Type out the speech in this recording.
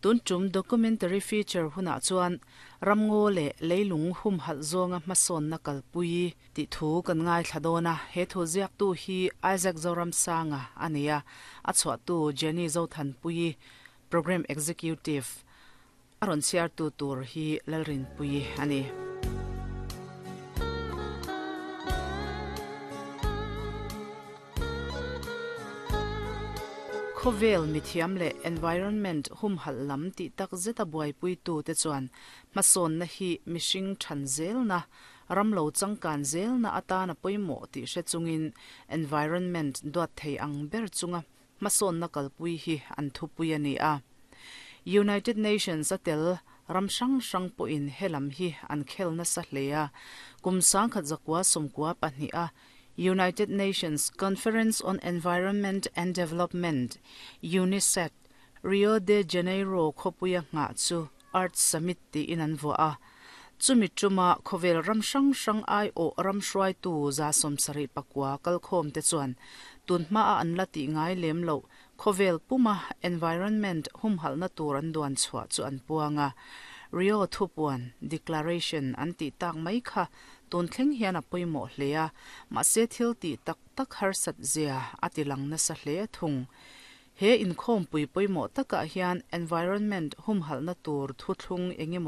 Tun tum documentary feature hunah chuan ramngaw leh leilung humhalh zawnga hmasawnna kalpui tih thu kan ngaithla dawn a. He thu ziaktu hi Isaac Zoramsanga a ni a, a chhuahtu Jenny Zothanpuii, Programme Executive, a rawn chhiartu tur hi Lalrinpuii a ni. Khawvel mithiam leh environment humhalh lam tih tak zeta buaipuitute chuan hmasawnna hi mihring than zelna, ram lo changkan zelna atana pawimawh tih hre chungin environment duat thei ang ber chunga hmasawnna kalpui hi an thupui a ni a. United Nations a tel ram hrang hrang pawhin he lam hi an khel nasa hle a, kum 1992 a United Nations Conference on Environment and Development, UNICED, Rio de Janeiro khawpuia nghah chu Earth Summit tiin an vuah a. Chumi tuma khawvel ram hrang hrang aiawh ram hruaitu 74 kalkhawmte chuan tun hmaa an la tih ngai lem loh khawvel puma environment humhalhna tur an duan chhuah chu an puang a. Rio thupuan, declaration, an tih tak mai kha tun thleng hian a pawimawh hle a, mahse thil tih tak tak harsat zia a ti lang nasa hle thung. He inkhawmpui pawimawh takah hian environment humhalhna tur thuthlung engemaw